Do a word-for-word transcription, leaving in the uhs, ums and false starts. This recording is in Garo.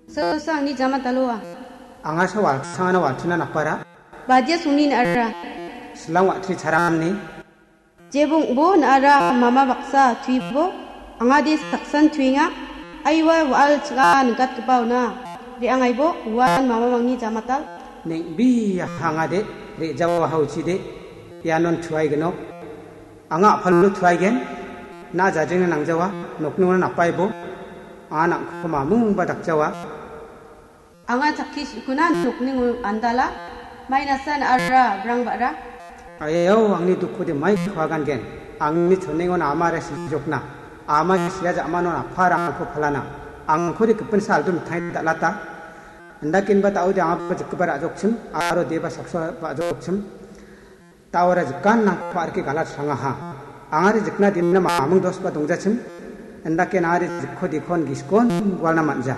Sosa angni jamataloa. Anga sa walsangana walchina napara. Badia sungni na·ara. Silang watri charamni. Jebong bo na·ara mama baksa tuibo. Anga de saksan tuinga. Aiwa wa·al ching·a nikatgipa ona. Re·angaibo uan mamamangni jamatal. Neng·bia hangade re·jawa hauchide. Ianon tuaigenok. Anga a·palo tuaigen. Na jajengna nangjawa. Nokningona napaibo. Anga nang·ko mamungba dakjawa. Anga chakki sikuna nokningo andala, mai nasa na·ara brang ba·ra. Ayayau, angni dukkode mai kuagangen. Angni chonengon amara sijokna. Ama sia ja·manon aparangko palana. Angkode gipin saldo mitang dal·ata. Indakenba daode angaba jikgipa ra·jokchim, aro deba saksa ba·jokchim. Daora jikan nangko arke galat sangaha. Angari jikna dinna mamung dosba dongjachim. Indake nangari jikko dikon giskon gualna manja.